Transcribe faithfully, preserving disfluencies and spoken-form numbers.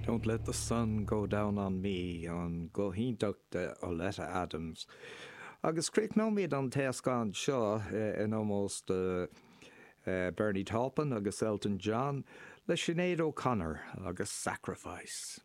Don't Let the Sun Go Down on Me an guth iontach de Oleta Adams. Agus críochnóimid an téascán seo in ómós do Bernie Taupin agus Elton John le Sinéad O'Connor agus Sacrifice.